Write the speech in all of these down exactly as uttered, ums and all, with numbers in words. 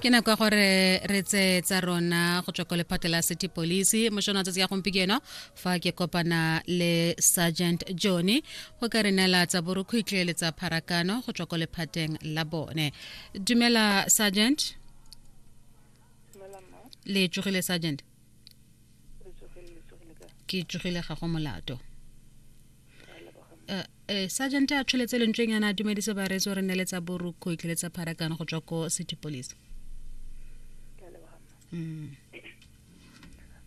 Ke nako ya gore re tse tsa rona go tswa ko lephata la city police mošono wa tsatsi ya gompieno fa ke kopana le Sergeant Johnny go ka re neela tsa borukhutlhi le tsa pharakano go tswa ko lephateng la bone. Dumela, Sergeant. Dumela, mma. Le tsogile, Sergeant? Re tsogile, le tsogile kae? Ke tsogile, ga go molato. Re a leboga, mma. Eh, eh, sergeant a tsholetse lentsweng yana a dumedise bareetsi re neele tsa borukhutlhi le tsa pharakano go tswa ko city police. Ke a leboga, mma. mm.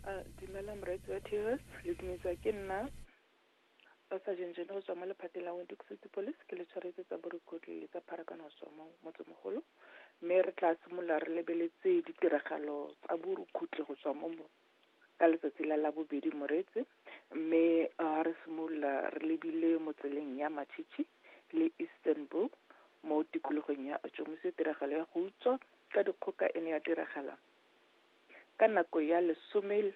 Ah, dumela moreetsi wa T S, le dumedisa ke nna Sergeant Jane go tswa mo lephateng la Windhoek City Police. Ke le tshwaretse tsa borukhutlhi le tsa pharakano go tswa mo motsemogolo, mme re tla simolola re lebeletse ditiragalo tsa borukhutlhi go tswa mo mo- ka letsatsi la Labobedi, moreetsi. Mme ah, re simolola re lebile mo tseleng ya Machichi le Istanbul mo tikologong ya Otjomuise. Tiragalo ya go utswa ka dikgoka e ne ya diragala ka nako ya lesome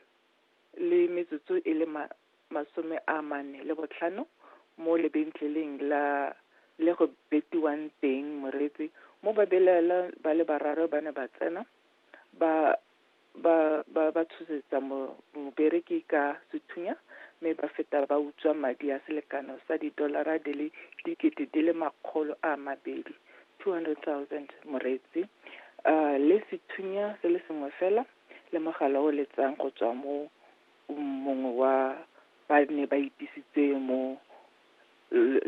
le metsotso e le ma, masome a mane le botlhano mo lebentleleng la le go betiwang teng, moreetsi, mo babelaelwa ba le bararo ba ne ba tsena ba ba ba ba tshosetsa mo mobereki ka sethunya, mme ba feta ba utswa madi a selekano sa didolara di le dikete di le makgolo a mabedi, two hundred thousand, moreetsi, uh, le sethunya se le sengwe fela le mogala o letsang go tswa mo mongwe wa ba ne ba itisitse mo le